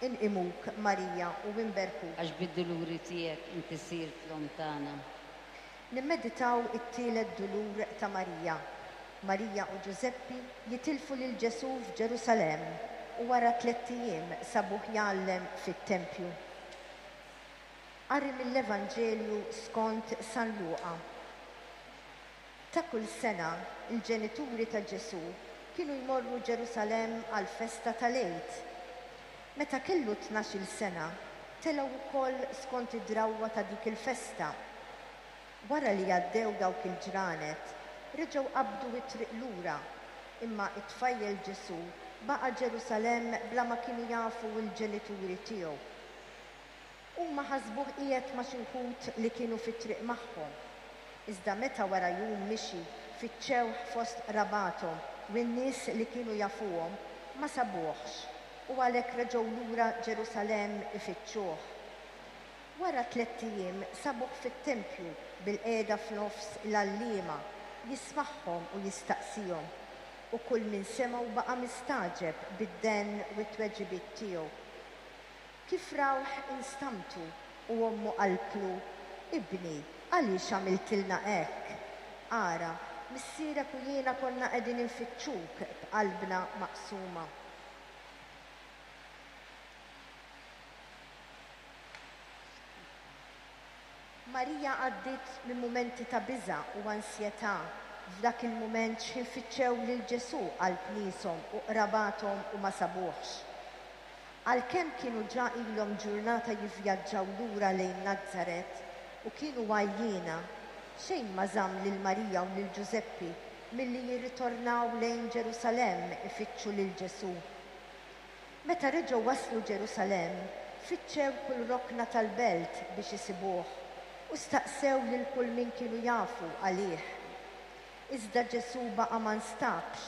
Inqimuk, Marija, u inberkuk. Għax bid-duluri tiegħek inti sirt l-Omm tagħna. Nimmeditaw it-tielet dulur ta' Marija. Marija u Ġużeppi jitilfu lil Ġesù f'Ġerusalemm u wara tlett ijiem sabuh jgħallem fit-tempju. Qari mill-Evanġelju skont San Luqa. Ta' kull sena, il-ġenituri ta' Ġesù kienu jmorru Ġerusalemm għall-festa tal-Għid. Meta kellu tnax-il sena, telgħu wkoll skont id-drawwa ta' dik il-festa. Wara li għaddew dawk il-ġranet, reġgħu qabdu t-triq lura, imma t-tfajjel Ġesù baqa' Ġerusalemm bla ma kienu jafu l-ġenituri tiegħu. Huma ħasbuh qiegħed ma' xi wħud li kienu fit-triq magħhom. Iżda meta wara jum mixi fittxewh fost qrabathom u n-nies li kienu jafuhom, ma sabuhx, u għalhekk reġgħu lura Ġerusalemm ifittxuh. Wara tlett ijiem sabuh fit-tempju bilqiegħda f'nofs l-għalliema, jismagħhom u jistaqsihom. U kull min semgħu baqa' mistagħġeb bid-denn u t-tweġibiet tiegħu. Kif rawh instamtu u ommu qaltlu, Ibni, għaliex għamiltilna hekk? Ara, missierek u jiena konna qegħdin infittxuk b'qalbna maqsuma. Marija għaddiet minn mumenti ta' biża' u ansjetà f'dak il-mument x'ħin fittxew lil Ġesù qalb nieshom u qrabathom u ma sabuhx. Għalkemm kienu ġa ilhom ġurnata jivvjaġġaw lura lejn Nazaret u kienu għajjiena, xejn ma żamm lil Marija u lil Ġużeppi milli jirritornaw lejn Ġerusalemm ifittxu lil Ġesù. Meta reġgħu waslu Ġerusalemm, fittxew kull rokna tal-belt biex isibuh u staqsew lil kull min kienu jafu għalih. Iżda Ġesù baqa' ma nstabx.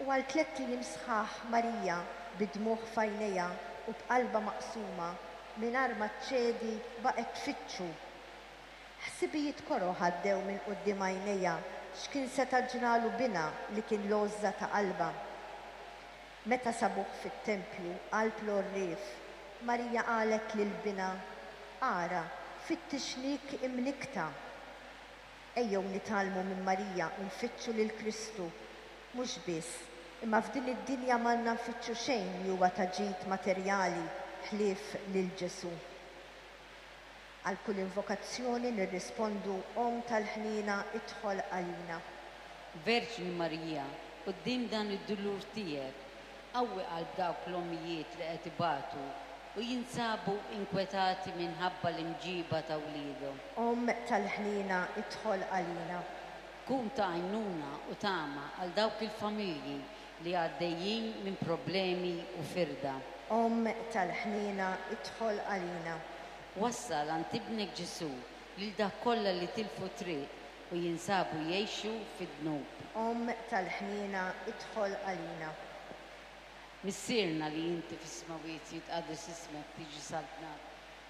U għal tlett ijiem sħaħ Marija, bid-dmugħ f'għajnejha u b'qalbha maqsuma, mingħajr ma ċċedi baqgħet tfittxu. Ħsibijiet koroh għaddew minn quddiem għajnejha x'kien seta' ġralu binha li kien l-għożża ta' qalbha. Meta sabuh fit-tempju qalb l-għorrief, Marija qalet lil binha, Ara, fittixniek imnikkta. Ejjew nitgħallmu minn Marija u nfittxu lil Kristu. Mhux biss, imma f'din id-dinja m'għandna nfittxu xejn li huwa ta' ġid materjali ħlief lil Ġesù. Għal kull invokazzjoni nirrispondu, Omm tal-ħniena, idħol għalina. Verġni Marija, quddiem dan id-dulur tiegħek, qawwi qalb dawk l-ommijiet li qed ibatu u jinsabu inkwetati minħabba l-imġiba ta' wliedhom. Omm tal-ħniena, idħol għalina. Kun ta' għajnuna u tama għal dawk il-familji li għaddejjin minn problemi u firda. Omm tal-ħniena, idħol għalina. Wassal għand Ibnek Ġesù lil dawk kollha li tilfu t-triq u jinsabu jgħixu fid-dnub. Omm tal-ħniena, idħol għalina. Missierna li inti fis-smewwiet jitqaddes ismek, tiġi saltnat,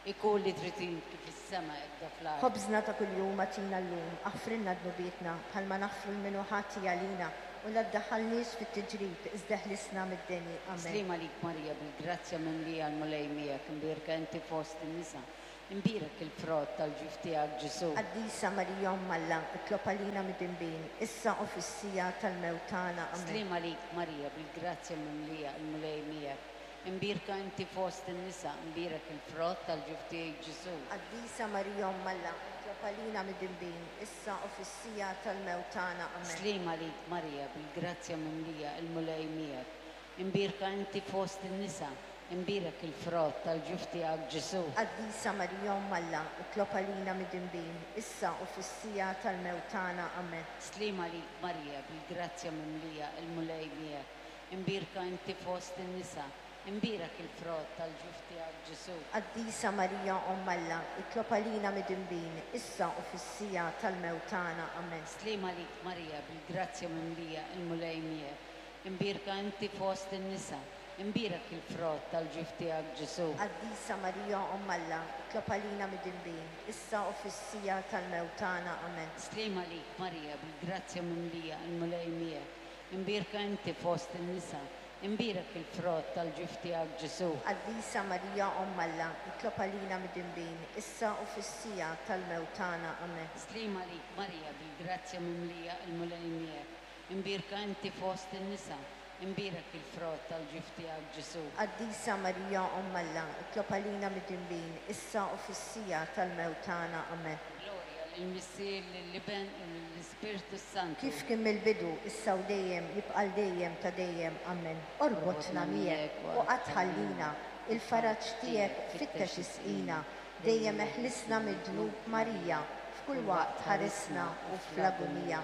ikun li trid int kif fis-sema hekk fl-art. Ħobżna ta' kuljum agħtina llum, aħfrilna dnubietna, bħalma naħfru 'l min hu ħati għalina, u la ddaħħalniex fit-tiġrib, iżda eħlisna mid-deni. Amen. Sliem għalik Marija, bil-grazzja mimlija l-Mulej miegħek, imbierka inti fost in-nisa, imbierek il-frott tal-ġuf tiegħek Ġesù. Qaddisa Marija Omm Alla, itlob għalina midinbin, issa u fis-siegħa tal-mewt tagħna. Amen. Sliem għalik Marija, bil-grazzja mimlija, il-Mulej miegħek, imbierka inti fost in-nisa, imbierek il-frott tal-ġuf tiegħek Ġesù. Qaddisa Marija Omm Alla, itlob għalina midinbin, issa u fis-siegħa tal-mewt tagħna. Amen. Sliem għalik Marija, bil-grazzja mimlija, il-Mulej miegħek, imbierka inti fost in-nisa, imbierek il-frott tal-ġuf tiegħek Ġesù. Qaddisa Marija Omm Alla, itlob għalina midinbin, issa u fis-siegħa tal-mewt tagħna. Amen. Sliem għalik Marija, bil-grazzja mimlija, il-Mulej miegħek, imbierka inti fost in-nisa, imbierek il-frott tal-ġuf tiegħek Ġesù. Qaddisa Marija Omm Alla, itlob għalina midinbin, issa u fis-siegħa tal-mewt tagħna. Amen. Sliem għalik Marija, bil-grazzja mimlija, il-Mulej miegħek, imbierka inti fost in-nisa, imbierek il-frott tal-ġuf tiegħek Ġesù. Qaddisa Marija Omm Alla, itlob għalina midinbin, issa u fis-siegħa tal-mewt tagħna. Amen. Sliem għalik Marija, bil-grazzja mimlija, il-Mulej miegħek, imbierka inti fost in-nisa, Imbierek il-frott tal-ġuf tiegħek Ġesù. Qaddisa Marija Omm Alla, itlob għalina midinbin, issa u fis-siegħa tal-mewt tagħna. Amen. Sliem għalik Marija, bil-grazzja mimlija, il-Mulej miegħek. Imbierka inti fost in-nisa, imbierek il-frott tal-ġuf tiegħek Ġesù. Qaddisa Marija Omm Alla, itlob għalina midinbin, issa u fis-siegħa tal-mewt tagħna. Amen. Glorja lill-Missier, lill-Iben u lill-Ispirtu s-Santu. Kif kien mill-bidu, issa u dejjem, jibqa' għal dejjem ta' dejjem. Amen. Orbotna miegħek u qatt tħallina, il-faraġ tiegħek fittex isqina, dejjem eħlisna mid-dnub Marija, f'kull waqt ħarisna u fl-agunija.